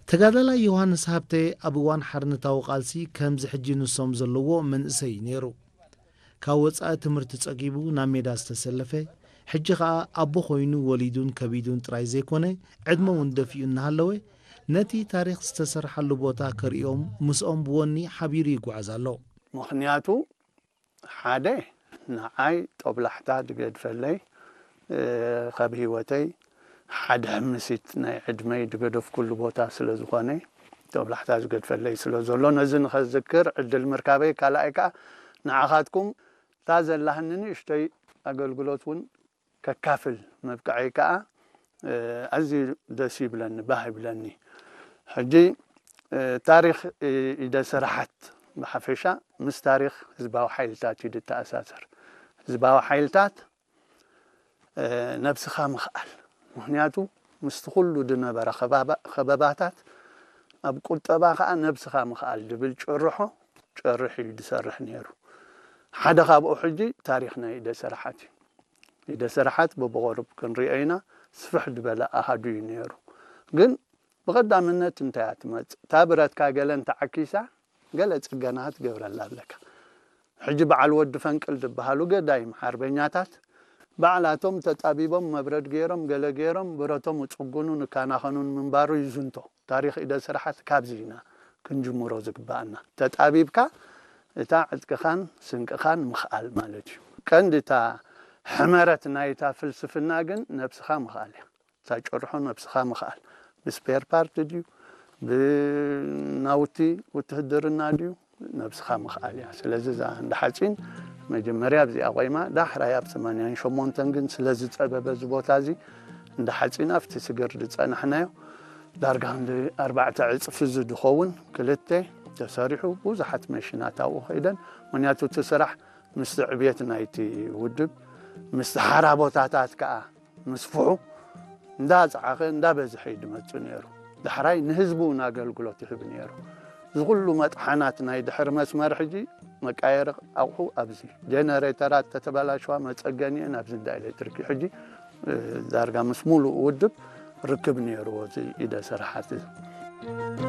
ተጋዳላይ ዮሃንስ ሃብተ ኣብ እዋን ሓርነታዊ ቃልሲ ከምዚ ሕጂ ንሶም ዘለዎ መንእሰይ ነይሩ። ካብ ወጻኢ ትምህርቲ ጸጊቡ ናብ ሜዳ ዝተሰለፈ፣ ሕጂ ኸኣ ኣቦ ኾይኑ ወሊዱን ከቢዱን ጥራይ ዘይኮነ፣ ዕድመ እውን ደፊኡ እናሃለወ፣ ነቲ ታሪኽ ዝተሰርሓሉ ቦታ ከርእዮም ምስኦም ብወኒ ሓቢሩ ይጓዓዝ ኣሎ። ምኽንያቱ ሓደ ንዓይ ጦብላሕታ ድገድፈለይ፣ እ፣ ካብ ህይወተይ ሓደ ሕምሲት ናይ ዕድመይ ድገደፍኩሉ ቦታ ስለ ዝኾነ፣ ጦብላሕታ ዝገድፈለይ ስለ ዘሎ፣ ነዚ ንኸዝክር ዕድል ምርካበይ፣ ካልኣይ ከኣ ንዓኻትኩም እታ ዘላህኒ ንእሽተይ ኣገልግሎት እውን ከካፍል ምብቅዐይ ከኣ፣ እ፣ ኣዝዩ ደስ ይብለኒ፣ ባህ ይብለኒ። ሕጂ፣ እ፣ ታሪኽ፣ እ፣ ኢደ ስራሓት ብሓፈሻ ምስ ታሪኽ ህዝባዊ ሓይልታት እዩ ዝተኣሳሰር። ህዝባዊ ሓይልታት፣ እ፣ ነብስኻ ምኽኣል። ምኽንያቱ ምስቲ ኩሉ ዝነበረ ከባባ-፣ ከበባታት ኣብ ቁጠባ ከኣ ነብስኻ ምኽኣል ዝብል ጭርሖ ጨርሕ እዩ ዝሰርሕ ነይሩ። ሓደ ካብኡ ሕጂ ታሪኽ ናይ ኢደ ስራሓት እዩ። ኢደ ስራሓት በብቐሩብ ክንሪኦ ኢና፣ ስፍሕ ዝበለ ኣሃዱ እዩ ነይሩ። ግን ብቐዳምነት እንታይ እያ ትመጽእ? እታ ብረትካ ገለ እንተዓኪሳ፣ ገለ ጽገና ትገብረላ ኣለካ። ሕጂ በዓል ወዲ ፈንቅል ዝበሃሉ ገዳይም ሓርበኛታት፣ ባዕላቶም ተጣቢቦም፣ መብረድ ገይሮም፣ ገለ ገይሮም፣ ብረቶም እጽጉኑን እካናኸኑን ምንባሩ ይዝንቶ። ታሪኽ ኢደ ስራሓት ካብዚ ኢና ክንጅምሮ ዝግባኣና። ተጣቢብካ እታ ዕጥቅኻን ስንቅኻን ምኽኣል ማለት እዩ። ቀንዲ እታ ሕመረት ናይታ ፍልስፍና ግን ነብስኻ ምኽኣል እያ። እታ ጭርሖ ነብስኻ ምኽኣል። ብስፔር ፓርት ድዩ? ብናውቲ ውትህድርና ድዩ? ነብስኻ ምኽኣል እያ። ስለዚ እዛ እንዳ ሓጺን መጀመርያ ኣብዚኣ ቆይማ፣ ዳሕራይ ኣብ ሰማንያን ሸሞንተን ግን ስለ ዝጸበበ እዚ ቦታ እዚ፣ እንዳ ሓጺን ኣብቲ ስግር ዝጸናሕናዮ ዳርጋ ክንዲ ኣርባዕተ ዕጽፊ ዝኸውን ክልተ ተሰሪሑ፣ ብዙሓት መሽናት ኣብኡ ከይደን። ምኽንያቱ እቲ ስራሕ ምስቲ ዕብየት ናይቲ ውድብ፣ ምስቲ ሓራ ቦታታት ከኣ ምስፍሑ እንዳጸዓኸ እንዳበዝሐ እዩ ዝመጽእ ነይሩ። ዳሕራይ ንህዝቢ እውን ኣገልግሎት ይህብ ነይሩ። እዚ ኩሉ መጥሓናት ናይ ድሕሪ መስመር ሕጂ መቃየሪ ኣቑሑ ኣብዚ ጀነሬተራት ተተበላሸዋ መጸገኒአን ኣብዚ እንዳ ኤሌክትሪክ እዩ። ሕጂ፣ እ፣ ዳርጋ ምስ ሙሉእ ውድብ ርክብ ነይርዎ እዚ ኢደ ስራሓት እዚ።